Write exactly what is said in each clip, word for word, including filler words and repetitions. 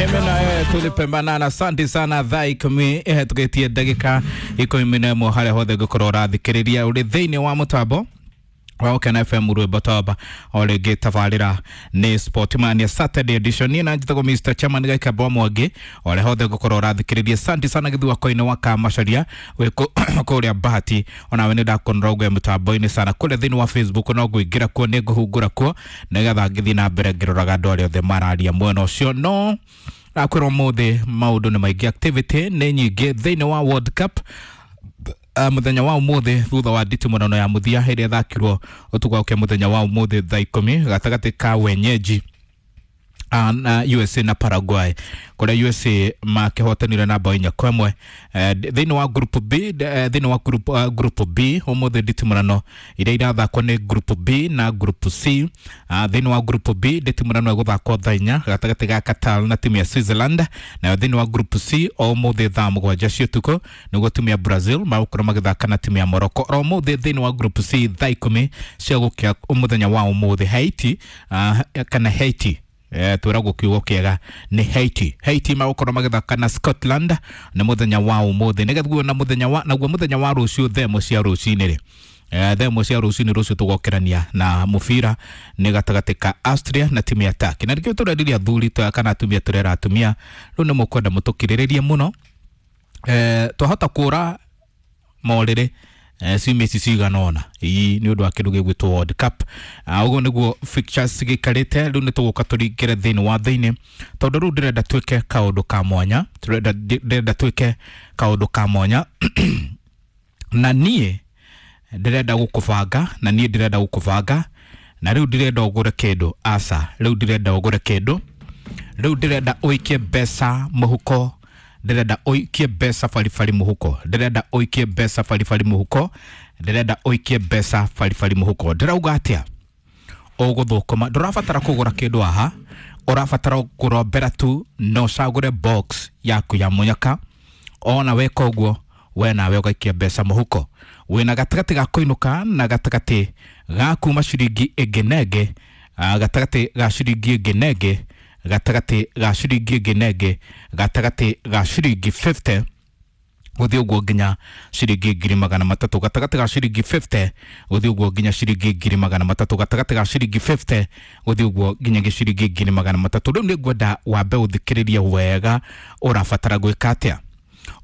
Mimi na wewe tulipembanana. Asante sana thaa ikumi ihetũkĩtie ndagĩka ikũmi na ĩmwe harĩa hothe ngũkorwo ũrathikĩrĩria ũrĩ thĩinĩ wa mũtambo wa Ũkena F M rwĩmbo toba o rĩngĩ tabarĩra nĩ Sportmania Saturday edition. Niĩ na njĩtagwo Mister Chairman Gaikamba Mwangi o rĩa hothe ngũkorwo ũrathikĩrĩria. Asante sana gĩthua-inĩ wa Kamacaria wĩ kũrĩa Bahati, onawe nĩ ndakuonera ũgwe mũtambo-inĩ sana kũrĩa thĩinĩ wa Facebook, no ngũingĩra kuo nĩ ngũhungũra kuo nĩgetha ngĩthiĩ na mbere ngĩroraga andũ arĩa othe mararia mwena ũcio. No nakwĩrwo ũmũthĩ maũndũ nĩ maingĩ, activity nĩ nyingĩ thĩinĩ wa World Cup. Uh, muthenya wa umuthi thutha wa nditimũrano ya mũthia ĩrĩa ĩthakirwo ũtukũ wa mũthenya wa umuthi thaa ikũmi gatagatĩ ka wenyeji uh, na U S A na Paraguay, kũrĩa U S A makĩhotanire na bao inya kwa ĩmwe. Thĩinĩ wa group B, thĩinĩ wa group, uh, group B ũmũthĩ nditimũrano iria irathakwo nĩ group B na group C. Uh, thĩinĩ wa group B nditimũrano ĩgũthakwo thaa inya gatagatĩ ga Qatar na timu ya Switzerland, nayo thĩinĩ wa group C o ũmũthĩ thaa mũgwanja cia ũtukũ nĩguo timu ya Brazil magũkorwo magĩthaka na timu ya Morocco. O ũmũthĩ thĩinĩ wa group C thaa ikũmi cia gũkĩa mũthenya wa ũmũthĩ Haiti, uh, kana Haiti eh twĩragwo kiugo kĩega nĩ Haiti. Haiti magũkorwo magĩthaka na Scotland nĩ mũthenya wa ũmũthĩ. Nĩgetha na mũthenya wa naguo mũthenya wa rũciũ thaa ĩmwe cia rũcinĩ rĩ, eh thaa ĩmwe cia rũcinĩ rũciũ tũgokĩrania na mũbira nĩ gatagatĩ ka Austria na timu ya Turkey. Na nĩkĩo tũrendirie athuri kana atumia tũrera atumia rĩu nĩ mũkwenda mũtũkirĩrĩrie mũno. Eh twahota kũra morĩrĩ eh ciumia ici cigana ũna ii nĩ ũndũ wa kĩndũ gĩgwĩtwo World Cup. Ũguo nĩguo fixtures gĩikarĩte. Rĩu nĩ tũgũka tũringĩre thĩinĩ wa thĩinĩ tondũ rĩu ndĩrenda twĩke kaũndũ ka mwanya, ndĩrenda twĩke kaũndũ ka mwanya na niĩ ndĩrenda gũkũbanga, na niĩ ndĩrenda gũkũbanga na rĩu ndĩrenda ũgũre kĩndũ. Aca, rĩu ndĩrenda ũgũre kĩndũ, rĩu ndĩrenda ũikie mbeca mũhuko, ndĩrenda ũikie mbeca baribari mũhuko, ndĩrenda ũikie mbeca baribari mũhuko, ndĩrenda ũikie mbeca baribari mũhuko. Ndĩrauga atĩa? Ũgũthũkũma, ndũrabatara kũgũra kĩndũ haha, ũrabatara kũrombera tu na ũcagũre box yaku ya mũnyaka. Ona weka ũguo we nawe ũgaikia mbeca mũhuko. Wĩna gatagatĩ ga kũinũka na gatagatĩ ga kuma ciringi ĩngĩ na ĩngĩ, gatagatĩ ga ciringi ĩngĩ na ĩngĩ, gatagatĩ ga ciringi ĩngĩ na ĩngĩ, gatagatĩ ga ciringi fifty gũthiĩ ũguo nginya ciringi ngiri magana matatũ, gatagatĩ ga ciringi fifty gũthiĩ ũguo nginya ciringi ngiri magana matatũ, gatagatĩ ga ciringi fifty gũthiĩ ũguo nginya ciringi ngiri magana matatũ. Rĩu nĩ ngwenda wambe ũthikĩrĩrie wega ũrabatara gwĩka atĩa.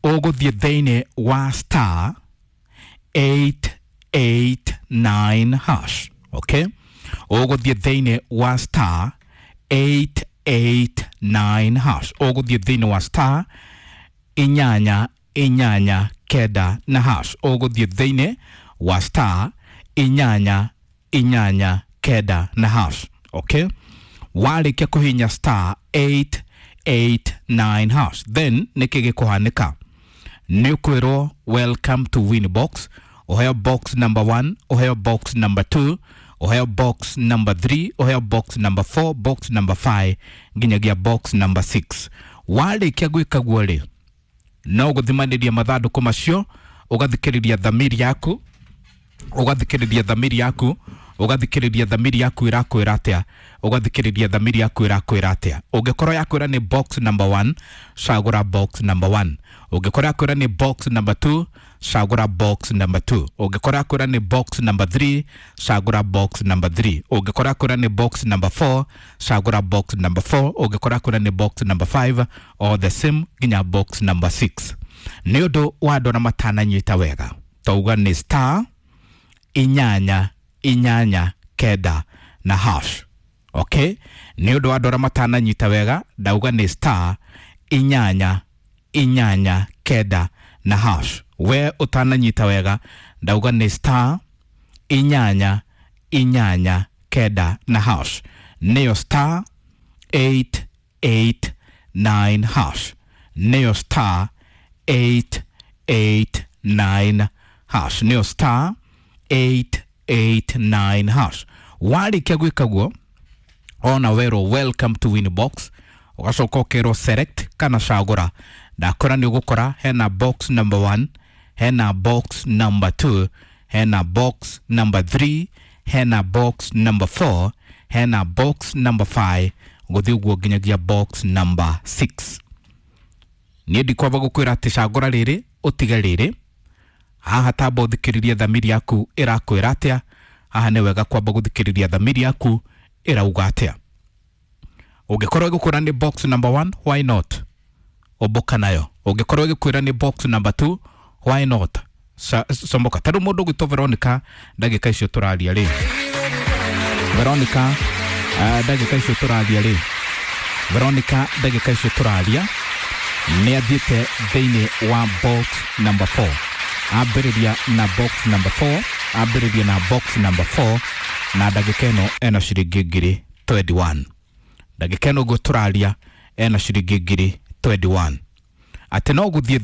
Ũgũthiĩ thĩinĩ wa star eight eight nine hash. Okay, ũgũthiĩ thĩinĩ wa star eight eight nine hash, ũgũthiĩ thĩinĩ wa star inyanya inyanya kenda na hash, ũgũthiĩ thĩinĩ wa star inyanya inyanya kenda na hash. Okay, warĩkia kũhihinya star eight eight nine hash, then nĩkĩ gĩkũhanĩka? Nĩ ũkwĩrwo welcome to Winbox, ũheo box number one, ũheo box number two, ũheo box number three, ũheo box number four, box number five nginyagia box number six. Warĩkia gwĩka guo rĩ, no gũthimanĩria mathandũkũ macio, ũgathikĩrĩria thamiri yaku, ũgathikĩrĩria thamiri yaku, ũgathikĩrĩria thamiri yaku ĩrakwĩra atĩa, ũgathikĩrĩria thamiri yaku ĩrakwĩra atĩa. Ũngĩkorwo yakwĩra nĩ box number one, cagũra box number one. Ũngĩkorwo yakwĩra nĩ box number two, cagũra box number two. Ũngĩkorwo yakwĩra nĩ box number three, cagũra box number three. Ũngĩkorwo yakwĩra nĩ box number four, cagũra box number four. Ũngĩkorwo yakwĩra nĩ box number five, or the same nginya box number six. Nĩ ũndũ wa andũ arĩa matananyita wega, twauga nĩ star inyanya inyanya kenda na hash. Okay, nĩ ũndũ wa andũ arĩa matananyita wega, ndauga nĩ star inyanya inyanya kenda na hash. We ũtananyita wega, ndauga nĩ star inyanya inyanya kenda na hash, nĩyo star eight eight nine hash, nĩyo star eight eight nine hash, nĩyo star eight eight nine hash. Warĩkia gwĩka guo, ona werwo welcome to Winbox, ũgacoka ũkerwo select kana cagũra. Ndakora nĩ ũgũkora hena box number one, hena box number two, hena box number three, hena box number four, hena box number five, Gũthiĩ ũguo nginyagia box number six. Niĩ ndikwamba gũkwĩra atĩ cagũra rĩrĩ ũtige rĩrĩ. Haha tamba ũthikĩrĩrie thamiri yaku ĩrakwĩra atĩa. Haha nĩ wega kwamba gũthikĩrĩria thamiri yaku ĩrauga atĩa. Ũngĩkorwo ĩgũkwĩra nĩ box number one, why not? Ũmbũka nayo. Ũngĩkorwo ĩgĩkwĩra nĩ box number two, why not? Comboka. Ta rĩu mũndũ ũgwĩtwo Veronica, ndagĩka icio tũraria rĩ, Veronica, uh, ndagĩka icio tũraria rĩ, Veronica, ndagĩka icio tũraria nĩ athiĩte thĩinĩ wa box number four. Ambĩrĩria na box number four, ambĩrĩria na box number four, na ndagĩka ĩno ena ciringi ngiri mĩrongo ĩĩrĩ na ĩmwe. Ndagĩka ĩno ũguo tũraria ena ciringi ngiri mĩrongo ĩĩrĩ na ĩmwe, atĩ no gũthiĩ.